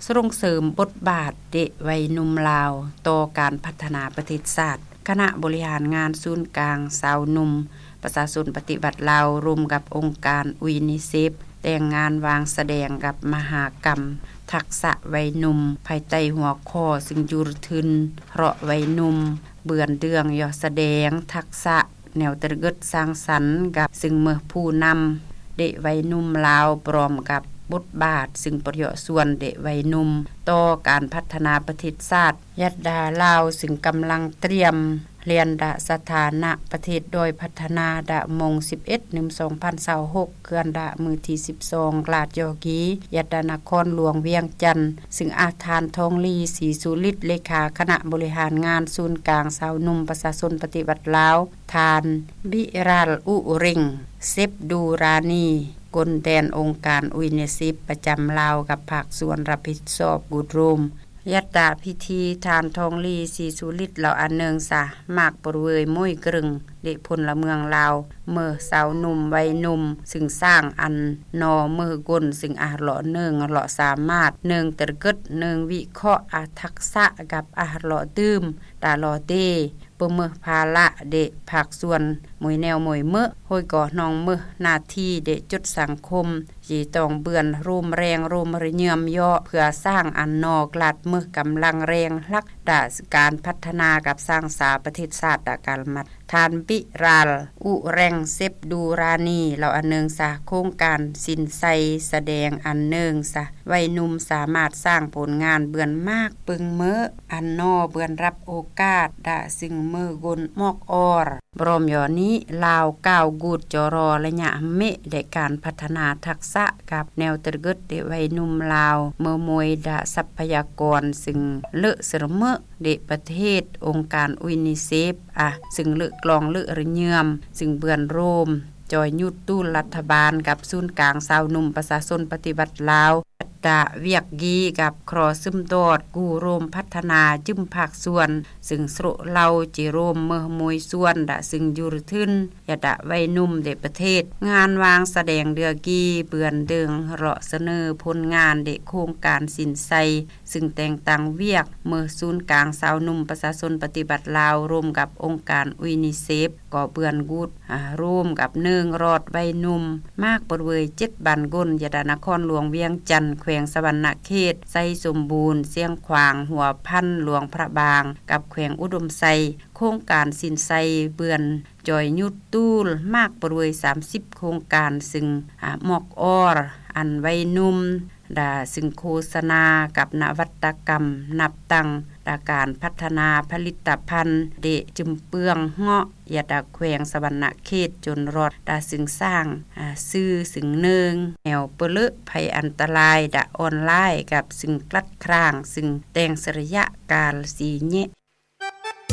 ສົ່ງເສີມບົດບາດເດັກໄວໜຸ່ມລາວ ຕໍ່ການພັດທະນາປະເທດຊາດ. ຄະນະບໍລິຫານງານສູນກາງຊາວໜຸ່ມປະຊາຊົນປະຕິວັດລາວ ຮ່ວມກັບອົງການ UNICEF ແຕ່ງງານວາງສະແດງກັບມະຫາກຳທັກສະໄວໜຸ່ມ ພາຍໃຕ້ຫົວຂໍ້ ຊຶ່ງຢູ່ທຶນເລາະໄວໜຸ່ມ ເບືອນເດືອງ ເຍາະສະແດງທັກສະ ແນວຕະກຶດສ້າງສັນກັບຊຶ່ງເມືອຜູ້ນຳເດັກໄວໜຸ່ມລາວ ພ້ອມກັບບົດບາດ ຊຶ່ງປະໂຫຍດສ່ວນເດັກໄວໜຸ່ມ ຕໍ່ການພັດທະນາປະເທດຊາດ. ຍັດດາລາວ ຊຶ່ງກຳລັງຕຽມລຽນດາສະຖານະປະເທດດ້ອຍພັດທະນາ ດາມົງສິບເອັດ ໜຶ່ງ ສອງພັນຊາວຫົກ ເຄື່ອນດາມື້ທີສິບສອງ ກລາດຢໍກີ ຍັດດານະຄອນຫຼວງວຽງຈັນ ຊຶ່ງອາຈານ ທອງລີ ສີສຸລິດ ເລຂາຄະນະບໍລິຫານງານສູນກາງຊາວໜຸ່ມປະຊາຊົນປະຕິວັດລາວ ທ່ານ ບິຣາລ ອຸເຣັງ ເຊັບດູຣານີ ກົນແດນອົງການ UNICEF ປະຈຳລາວ ກັບພາກສ່ວນຮັບຜິດຊອບ ກູດໂຣມ. ຍັດຕາພິທີ ທ່ານ ທອງລີ ສີສຸລິດ ເລົ່າອັນເໜິງສາ ມາກປຣເວີຍ ໂມຍເກິ່ງ ເດັກພົນລະເມືອງລາວ ເມືອຊາວໜຸ່ມໄວໜຸ່ມ ຊຶ່ງສ້າງອັນນໍເມືອກົນ ຊຶ່ງອາເລາະເນີງເລາະສາມາດ ເນີງຕະກຶດ ເນີງວິເຄາະອາທັກສະ ກັບອາເລາະດື່ມ ຕາລໍເຕ ປະເມີພາລະເດະພາກສ່ວນ ໝົຍແນວໝົຍເມີ ໂຮຍກໍນອງເມີໜ້າທີ່ເດະຈົດສັງຄົມ ເຈຕ້ອງເບືອນໂຮມແຮງໂຮມຣະເຍື່ອມເຍາະ ເພື່ອສ້າງອັນນໍກລາດເມີກຳລັງແຮງຫຼັກ ດາການພັດທະນາກັບສ້າງສາປະເທດຊາດດາການມັດ. ທ່ານ ບິຣາລ ອຸແຣງ ເຊັບດູຣານີ ເລົ່າອັນເໜິງສາ ໂຄງການສິນໄຊສະແດງອັນເໜິງສາ ໄວໜຸ່ມສາມາດສ້າງຜົນງານເບືອນມາກປຶງເມີ ອັນນໍເບືອນຮັບໂອກາດ ດາຊຶ່ງເມີກົນໝອກອອລ. ບຣອມຢໍນີ້ ລາວກ້າວກູດຈໍລໍລະຍະເມະ ແລະ ການພັດທະນາທັກສະກັບແນວຕະກຶດເດັກໄວໜຸ່ມລາວ ເມີໂມຍດາຊັບພະຍາກອນ ຊຶ່ງເລີະເສີມເມີ ເດະປະເທດ ອົງການ UNICEF ອາ ຊຶ່ງເລີະກລອງເລີະຣະເຍື່ອມ ຊຶ່ງເບືອນໂຮມ ຈອຍຍຸດຕູນລັດຖະບານ ກັບສູນກາງຊາວໜຸ່ມປະຊາຊົນປະຕິວັດລາວ ດາວຽກກີກັບຄຣໍຊຶມດອດ ກູ້ໂຮມພັດທະນາຈືມພາກສ່ວນ ຊຶ່ງໂຊະເລົາເຈໂຮມເມີໂມຍສ່ວນ ດາຊຶ່ງຢູຣະທຶນ ຍະດາໄວໜຸ່ມເດະປະເທດ ງານວາງສະແດງເດືອກີ ເບືອນເດີງເລາະສະເໜີຜົນງານເດະໂຄງການສິນໄຊ ຊຶ່ງແຕ່ງຕັ້ງວຽກເມີສູນກາງຊາວໜຸ່ມປະຊາຊົນປະຕິວັດລາວ ຮ່ວມກັບອົງການ UNICEF ກໍເບືອນກຸດ ອາ ຮ່ວມກັບເນີງລອດໄວໜຸ່ມ ມາກປຣເວີຍເຈັດບ້ານກົນ ຍະດານະຄອນຫຼວງວຽງຈັນ ແຂວງສະຫວັນນະເຂດ ໄຊສົມບູນ ຊຽງຂວາງ ຫົວພັນ ຫຼວງພະບາງ ກັບແຂວງອຸດົມໄຊ ໂຄງການສິນໄຊເບືອນ ຈອຍຍຸດຕູນ ມາກປຣເວີຍສາມສິບໂຄງການ ຊຶ່ງ ອາ ໝອກອອລ ອັນໄວໜຸ່ມ ດາ ຊຶ່ງໂຄສະນາກັບນະວັດຕະກຳ ນັບຕັ້ງ ດາການພັດທະນາຜະລິດຕະພັນ ເດະຈຶມເປືອງເງາະ ຍະດາແຂວງສະຫວັນນະເຂດ ຈົນຮອດ ດາ ຊຶ່ງສ້າງ ອາ ຊື່ ຊຶ່ງເນີງ ແນວປະເລີະໄພອັນຕະລາຍ ດາ ອອນລາຍ ກັບ ຊຶ່ງກລັດຄຣາງ ຊຶ່ງແຕ່ງສະລະຍະການຊີ້ແຍະ